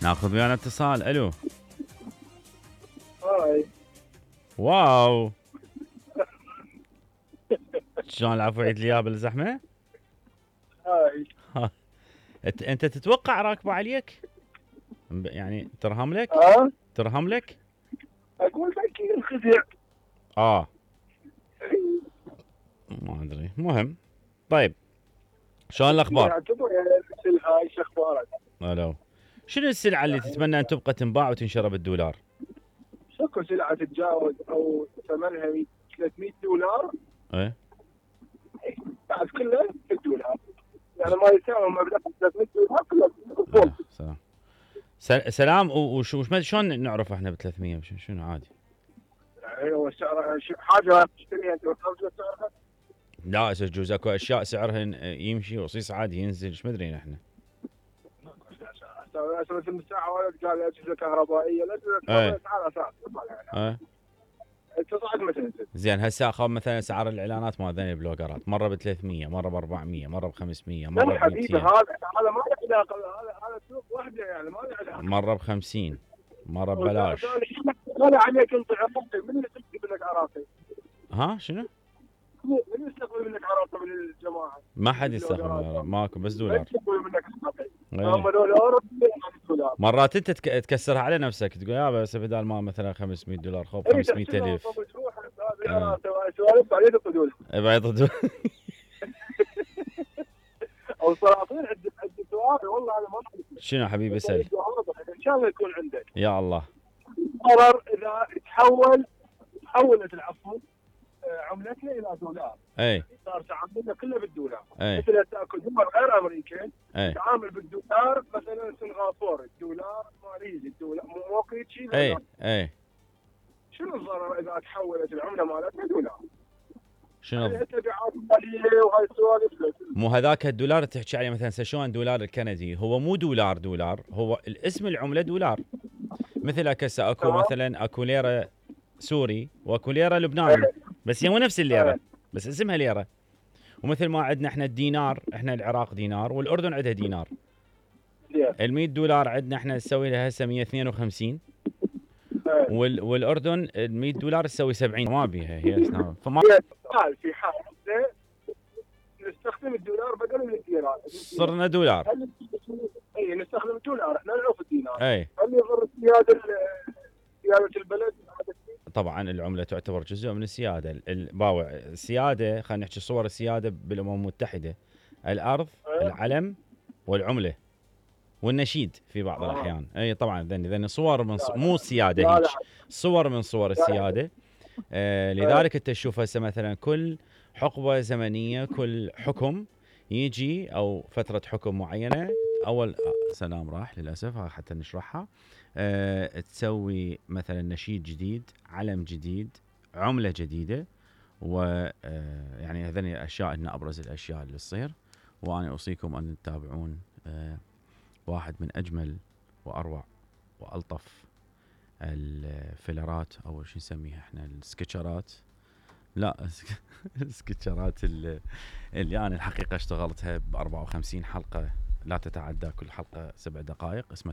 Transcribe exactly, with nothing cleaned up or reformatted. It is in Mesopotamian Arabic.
ناخذ ويانا اتصال. الو. هاي. واو. شلون العفو عيد لي اياه بالزحمه؟ هاي. انت انت تتوقع راكبه عليك؟ يعني ترهم لك؟ ها؟ ترهم لك؟ اقول اكيد انخدع. اه ما ادري. مهم. طيب شلون الاخبار؟ يعتبر يعني مثل هاي شو اخبارك؟ الو. شنو السلعه اللي تتمنى ان تبقى تنباع وتنشرى بالدولار؟ شكو سلعه تتجاوز او ثمنها ثلاثمية دولار؟ ايه بعد كله بالدولار. يعني ما يساوي مبلغ ثلاثمية دولار كله بالفول. سلام. سلام. وشو شلون نعرف احنا ب ثلاثمية؟ شنو عادي؟ يعني هو سعر حاجه تشتريها انت وتخرج سعرها؟ لا يجوز اكو اشياء سعرها يمشي رصيص عادي ينزل. ايش مدري احنا. مثل الساعه واحد قال اجهزه كهربائيه الاجهزه الكهربائيه اسعارها ثابته. تصعد ما تنزل. زين هسه اخذ مثلا اسعار الاعلانات مال ذني البلوجرات مره ب ثلاثمية، مره ب أربعمية، مره ب خمسمية، مره ب مئتين. حبيبي هذا هذا ما له علاقه. هذا هذا سوق وحده يعني ما له علاقه. مره ب خمسين، مره ببلاش. انا عليك انت عراقي. من اللي يستقبل منك عراقي؟ ها شنو؟ من يستقبل منك عراقي من الجماعه؟ ما حد يستقبل. ماكو بس دولار. يستقبل منك عراقي. ايه. هم دولار دولار. مرات انت تك... تكسرها على نفسك تقول يا بس بدال ما مثلا خمسمية دولار خذ خمسمية ألف. هذا سوالف بعدين يقعدون. بعيد او سلاطين عند عند سؤال والله انا ما اعرف. شنو حبيبي اسال. ان شاء الله يكون عندك. يا الله. قرر اذا تحول تحولت العفو عملتنا الى دولار. اي. صار تعاملنا كله بالدولار. اي. مثل تاكل دول غير امريكي اي. تعامل بالدولار. مثلا سنغافوره الدولار، ماليزيا الدولار، موكيت شيء. اي اي. شنو الضرر اذا تحولت العمله مالتنا دولار؟ شنو؟ تبعات ماليه وهاي السوالف. مو هذاك الدولار اللي تحكي عليه مثلا شلون الدولار الكندي هو مو دولار دولار، هو الاسم العمله دولار. مثل هسه اكو مثلا اكو ليره سوري واكو ليره لبناني بس هي مو نفس الليره بس اسمها ليره. ومثل ما عندنا احنا الدينار، احنا العراق دينار والاردن عندها دينار. ال مئة دولار عندنا احنا نسوي لها هسه مئة واثنين وخمسين وال والاردن ال مئة دولار تسوي سبعين. ما بيها هي فما قال في حال نستخدم الدولار بدل من الدينار. صرنا دولار. اي نستخدم الدولار احنا نعرف الدينار. اي. هل يضر سياده سياده البلد؟ طبعا العمله تعتبر جزء من السياده. الباوع السياده خلينا نحكي صور السياده بالامم المتحده: الارض، العلم، والعمله، والنشيد في بعض آه. الاحيان. اي طبعا ذني ذني صور من ص... مو سياده هيك صور من صور السياده. آه لذلك انت تشوف هسه مثلا كل حقبه زمنيه كل حكم يجي او فتره حكم معينه اول سلام راح للاسف حتى نشرحها. أه تسوي مثلا نشيد جديد، علم جديد، عمله جديده. و أه يعني هذني الاشياء ان ابرز الاشياء اللي تصير. وانا اوصيكم ان تتابعون أه واحد من اجمل واروع والطف الفيلرات او شو نسميها احنا السكتشرات. لا السكتشرات اللي, اللي انا الحقيقه اشتغلتها ب أربعة وخمسين حلقه لا تتعدى كل حلقه سبع دقائق. اسمها